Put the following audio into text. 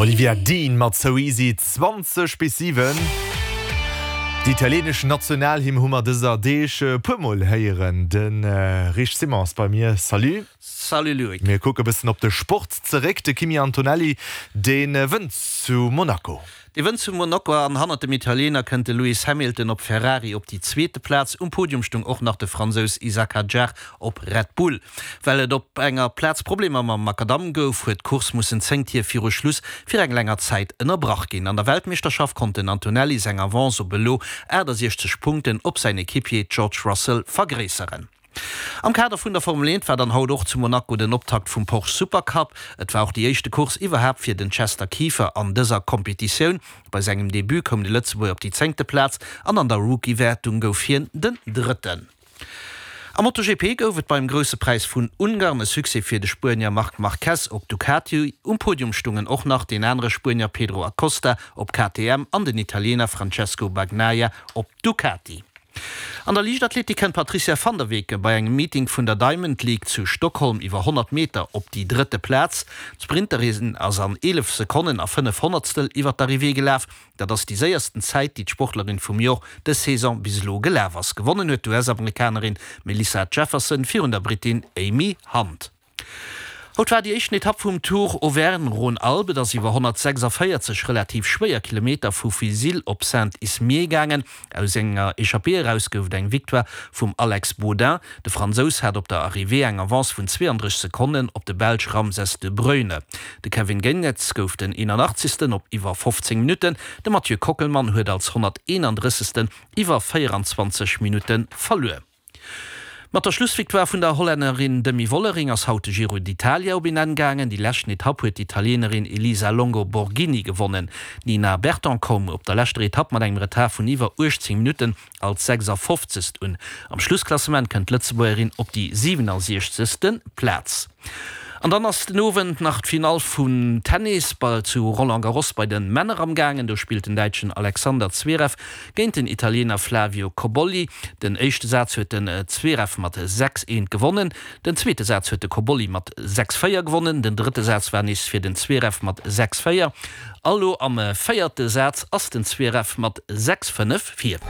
Olivia Dean mat So Easy, 20 bis 7. Déi italieenesch Nationalhymn hu mer dëser Deeg e puer Mol héieren. De Rich Simon ass bei mir. Salut. Salut Loïc. Mir kucke bëssen op de Sport zeréck. De Kimi Antonelli, dee wënnt zu Monaco. Dee wënnt zu Monaco an hannert dem Italiener kënnt de Lewis Hamilton op Ferrari op déi zweete Plaz. Um Podium stung och nach de Fransous Isack Hadjar op Red Bull. Well et op enger Plaz Problemer mam Makadamm gouf, huet d'Course mussen 10 Tier viru Schluss fir eng länger Zäit ënnerbrach ginn. An der Weltmeeschterschaft konnt den Antonelli seng Avance op elo 68 Punkten op säin Equipier George Russell vergréisseren. Am Kader vun der Formel 1 war dann haut och zu Monaco den Optakt vum Porsche Supercup. Et war och déi éischte Course iwwerhaapt fir den Chester Kieffer an dëser Kompetitioun. Bei sengem Debut koum de Lëtzebuerger op déi zéngte Plaz an an der Rookie-Wäertung gouf hien den Drëtten. Am MotoGP gouf et beim Grousse Präis vun Ungarn e Succès fir de Spuenier Marc Marquez op Ducati. Um Podium stungen och nach deen anere Spuenier Pedro Acosta op KTM an den Italiener Francesco Bagnaia op Ducati. An der Liichtathletik kënnt d'Patrizia van der Weken bei engem Meeting vun der Diamond League zu Stockholm iwwer 100 Meter op déi drëtte Plaz. D'Sprinterin ass an 11 Sekonnen a 5 Honnertstel iwwer d'Arrivée gelaf. Dat ass déi séiersten Zäit, déi d'Sportlerin vum Jor dës Saison bis elo gelaf ass. Gewonnen huet d'US-Amerikanerin Melissa Jefferson virun der Brittin Amy Hunt. Haut war déi éischten Etapp vum Tour Auvergne-Rhône-Alpes. Et ass iwwer 146 relativ schwéier Kilometer vu Vizille op Saint-Ismier gaangen. Aus enger Echappée eraus gouf et eng Victoire vum Alex Baudin. De Fransous hat op der Arrivée eng Avance vun 32 Sekonnen op de Belsch Ramses de Bruyne. De Kevin Geniets gouf den 81. op iwwer 15 Minutten. De Mathieu Kockelmann huet als 131. iwwer 24 Minutte verluer. Mat der Schlussvictoire vun der Hollännerin Demi Vollering ass haut de Giro d'Italia op een Enn gaangen. Déi leschten Etapp huet d'Italienerin Elisa Longo Borghini gewonnen. D'Nina Berton koum op der leschter Etapp mat engem Retard vun iwwer 18 Minutten als 56. Un. Am Schlussklassement kënnt d'Lëtzebuergerin op déi 67. Plaz. An dann ass den Owend nach d'Finall vum Tennis zu Roland Garros bei de Männer am gaangen. Do spillt den Däitschen Alexander Zverev géint den Italiener Flavio Cobolli. Den éischte Saz huet den Zverev mat 6, 1 gewonnen. Den zweete Saz huet de Cobolli mat 6, 4 gewonnen. Den drëtte Saz war nees fir den Zverev mat 6, 4. A lo am véierte Saz ass den Zverev mat 6, 5 vir.